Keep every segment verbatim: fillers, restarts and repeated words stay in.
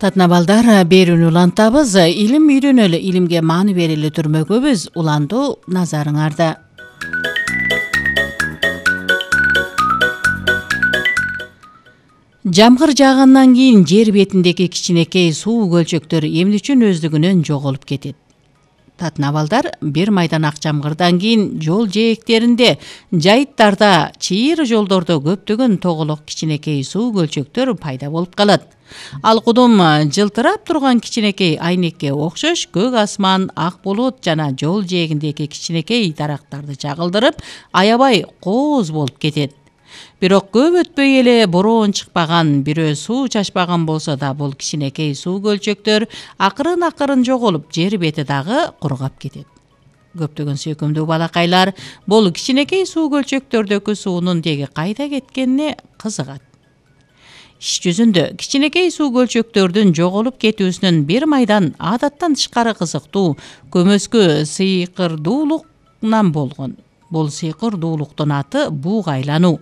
Татына балдар берүүнү улантабыз. Илим үйрөнөлү, илимге мааны берели түрмөгөбүз. Улантуу назарыңарда. Жамгыр жаагандан кийин жер бетиндеги кичинекей суу көлчөктөр эмне үчүн өздүгүнөн жоголуп кетет? Татына балдар, бир майдан ак жамгырдан кийин жол жээктеринде, жайыттарда, чыйыр жолдордо көптөгөн тоголок кичинекей суу көлчөктөр пайда болуп калат. Ал кудум жылтырап турган кичинекей айнекке окшош көк асман, ак булут жана жол жээгиндеги кичинекей дарактарды чагылдырып, аябай кооз болуп кетет. Бирок көп өтпөй эле бороон чыкпаган, бирөө суу чачпаган болсо да бул кичинекей суу көлчөктөр акырын-акырын жоголуп, жер бети дагы кургап кетет. Көптөгөн сүйкүмдүү балакайлар бул кичинекей суу көлчөктөрдөгү суунун деги кайда кеткенине кызыгат. Иш жүзүндө кичинекей суу көлчөктөрдүн жоголуп кетүүсүнүн бир майдан адаттан тышкары кызыктуу көмөскө сыйкырдуулугунан болгон. Бул сыйкырдуулуктун аты буг айлануу.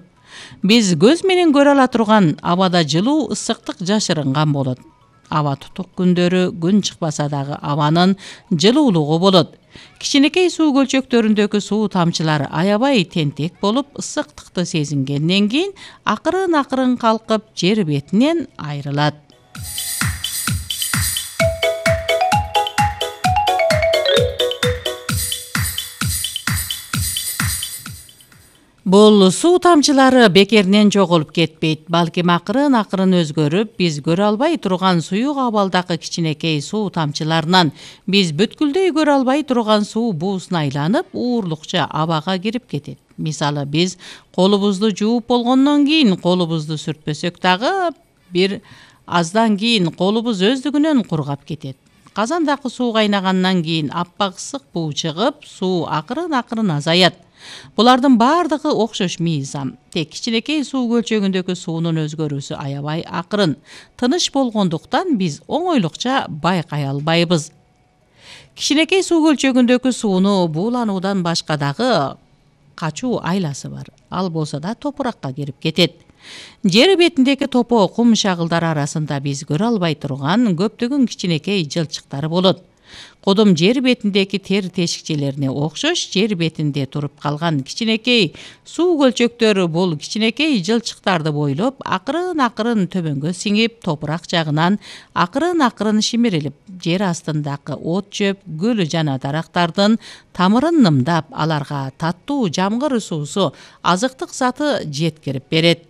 Биз көз менен көрө ала турган абада жылуу ысыктык жашырынган болот. Аба тутук күндөрү күн чыкпаса дагы абанын жылуулугу болот. Кичинекей суу көлчөктөрүндөгү суу тамчылары аябай тентек болуп, ысыктыкты сезингенден кийин акырын-акырын калкып жер бетинен айрылат. Бул суу тамчылары бекеринен жоголуп кетпейт, балким акырын-акырын өзгөрүп, биз көрө албай турган суюк абалдагы кичинекей суу тамчыларынан биз бүткүлдөй көрө албай турган суу буусуна айланып, уурлукча абага кирип кетет. Мисалы, биз колубузду жууп болгондон кийин колубузду сүртпөсөк дагы бир аздан кийин колубуз өздүгүнөн кургап кетет. Казандагы суу кайнагандан кийин аппак ысык буу чыгып, суу акырын-акырын азаят. Булардын бардыгы окшош мыйзам. Тек кичинекей суу көлчөгүндөгү суунун өзгөрүүсү аябай акырын, тыныч болгондуктан биз оңойлукча байкай албайбыз. Кичинекей суу көлчөгүндөгү сууну буулануудан башка дагы качуу айласы бар. Ал болсо да топуракка кирип кетет. Жер бетиндеги топо кум шагылдары арасында биз көрө албай турган көптөгөн кичинекей жылчыктар болот. Кудум жер бетиндеги тер тешикчелерине окшош, жер бетинде туруп калган кичинекей суу көлчөктөр бул кичинекей жылчыктарды бойлоп, акырын-акырын төмөнгө сиңип, топурак жагынан акырын-акырын шимирилип, жер астындагы от жөп, гүл жана дарактардын тамырын нымдап, аларга таттуу жамгыр суусу, азыктык заты жеткирип берет.